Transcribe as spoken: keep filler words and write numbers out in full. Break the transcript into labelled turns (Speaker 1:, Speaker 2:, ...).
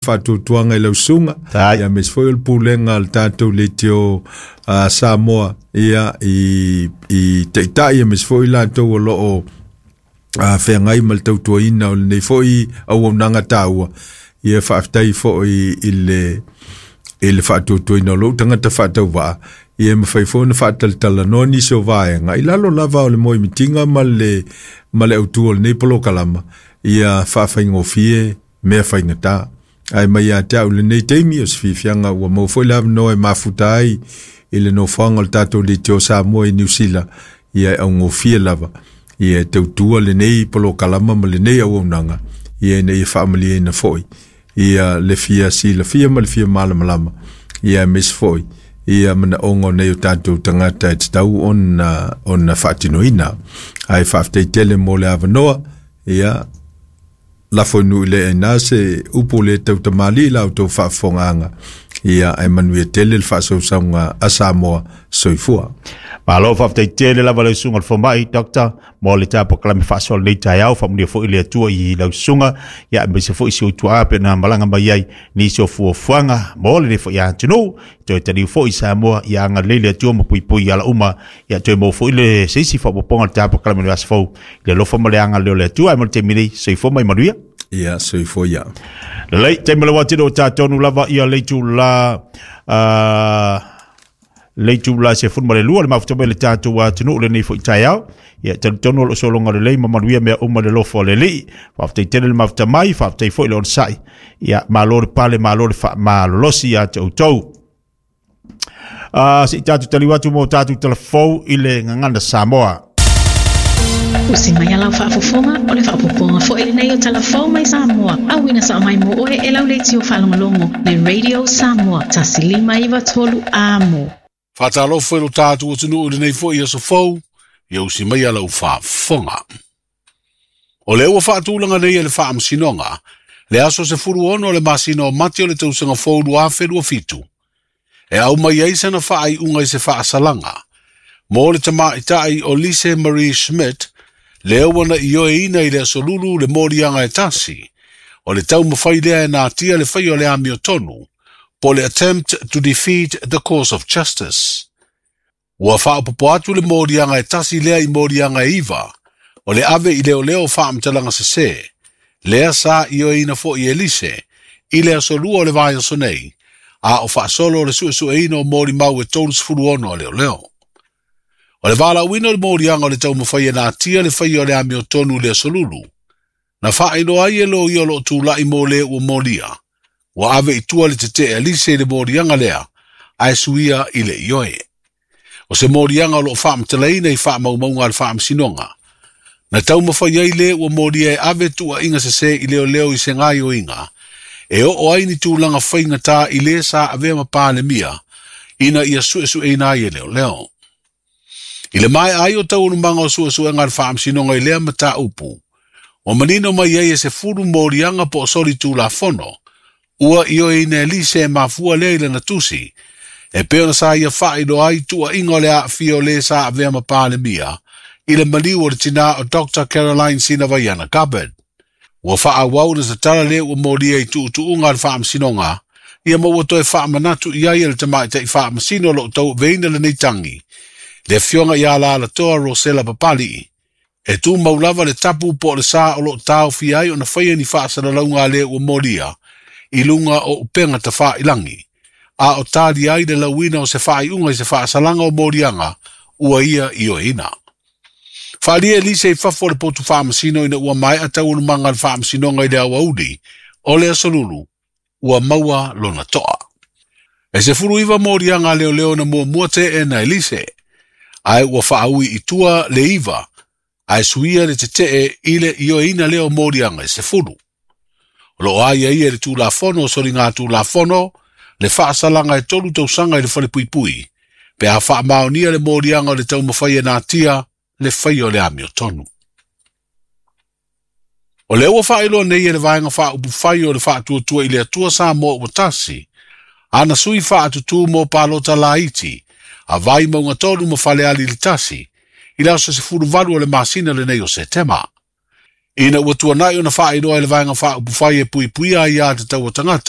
Speaker 1: Faatuatuaga i lau susuga
Speaker 2: Tai.
Speaker 1: Ia aemaise foi o le pulega a le tatou leitio a Samoa ia i i taitai aemaise foi latou o loo a feagai ma le tautuaina o lenei foi auaunaga taua. Ia faafetai foi i le i le faatuatuaina o lou tagata faatauvaa ia e mafai foi ona faatalatalanoa nisi o vaega i lalo lava o le moemitiga ma le ma le autu o lenei polokalama ia faafaigofie mea faigata. Ae mai ia te au lenei taimi o se fiafiaga ua maua foi le avanoa e mafuta ai i le nofoaga o le tatou leitio Samoa i Niu Sila ia e augofie lava ia e tautua lenei polokalama ma lenei auaunaga ia ina ia faamalieina foi ia le fia silafia ma le fia malamalama ia aemaise foi ia manaoga o nei o tatou tagata e tatau ona ona faatinoina. Ae faafetai tele mo le avanoa ia lafo i nuu i le aina se upu le tautamalii la outou faafofogaaga ia ae manuia tele le faasausauga a Samoa. Soifua.
Speaker 2: Malo faafetai tele lava lau susuga i le fomai doctor mo le tapokalame faasoa lenei taeao. Faamanuia foi le Atua i lau susuga ia aemaise foi si ou tuaa pe na malaga mai ai nisi o fuafuaga mo lenei foi atunuu toe taliu foi i Samoa. Ia agalelei le Atua ma puipui ala uma ia toe maua foi le se isi faaopoopoga o le tapokalame i le aso fou i le alofa ma le agalelei o le Atua. Ae mo le taimi nei, soifua ma ia manuia.
Speaker 1: Ia soifua ia.
Speaker 2: Lelei, taimi le watino o tatonu lava ia le itula uh, le itula se fulu ma le lua le mafuta mai le tatou atunuu lenei foi taeao. Ia talitonu o loo sologa lelei ma manuia mea uma le lofo o le Alii. Faafetai tele le mafuta mai, faafetai foi le onosai. Ia malo le pale, malo le faamalolosi ia te outou. Uh, se i tatou taliu atu mo tatou talafou i le gagana Samoa.
Speaker 3: Usi mai lau faafofoga o le faaopoopoga foi lenei o Talafou mai Samoa. Auina sao mai mo oe e lau leitio faalogologo le Radio Samoa tasi lima iva tolu Amo.
Speaker 4: Faatalofa i lo tatou atunuu i lenei foi aso fou, ia usi mai lau faafofoga. O lea ua faatulaga nei e le Faamasinoga, le aso sefulu ono o le masina o Mati o le tausaga fou lua afe lua fitu, e au mai ai sana faaiuga i se faasalaga, mo le tamaitai o Lise Marie Schmidt, lea ua na ioeina i le aso Lulu le moliaga e tasi, o le taumafai lea e natia le faia o le amiotonu, po le attempt to defeat the course of justice. Ua faaopoopo atu le moliaga e tasi lea i moliaga e iva, o le ave i leoleo faamatalaga sesē, lea sa ioeina foi e Lise, i le aso lua o le vaiaso nei, a o faasolo o le suesueina o molimau e tolu ono a leoleo. O le valaauina o le moliaga o le taumafai e natia le faia o le amiotonu i le aso Lulu, na faailoa ai e loia o loo tulai mo le ua molia, ua ave i tua le tetee a Lise i le moliaga lea, ae suia i le ioe. O se moliaga o loo faamatalaina i faamaumauga a le Faamasinoga, na taumafai ai le ua molia e ave tuuaiga sesē i leoleo i se gaioiga, e oo ai ni tulaga faigata i le sa avea ma Palemia, ina ia suesueina ai e leoleo. I le maea ai o taualumaga o suesuega a le Faamasinoga i lea mataupu, ua manino mai ai e se fulu moliaga po o soli tulafono, ua ioeina e Lise e mafua lea i lana tusi, e pei ona sa ia faailoa ai tuuaiga o le aafia o le sa avea ma Palemia, i le maliu o le tinā o Doctor Caroline Sinavaiana Gabbard. Ua faaauau na tatala le ua molia i tuutuuga a le Faamasinoga, ia ma ua toe faamanatu i ai e le tamaitai faamasino o loo tauaveina lenei tagi, le afioga ia Alalatoa Rosela Papalii, e tumau lava le tapu po o le sa o loo taofia ai ona faia ni faasalalauga a le ua molia, i luga o upega tafailagi, a o tali ai le lauina o se faaiuga i se faasalaga o moliaga ua ia ioeina. Faaalia e Lise i fafo o le potu faamasino ina ua maea taualumaga a le Faamasinoga i le aoauli, o le aso Lulu, ua maua lona toa. E sefulu iva moliaga a leoleo na muamua teena e Lise, ae ua faaui i tua le iva, ae suia le tetee i le ioeina lea o moliaga e sefulu. O loo aiaia i le tulafono o soliga tulafono, le faasalaga e tolu tausaga i le falepuipui, pe a faamaonia le moliaga o le taumafai e natia le faia o le amiotonu. O lea ua faailoa nei e le vaega faaupufai o le Faatuatua i le Atua Samoa ua tasi, ana sui faatutū mo palota laiti, a Vaimauga tolu ma Falealili tasi, i le aso sefulu valu o le masina lenei o Setema. Ina ua tuanai ona faailoa e le vaega faaupufai e puipuia ai a tatau o tagata,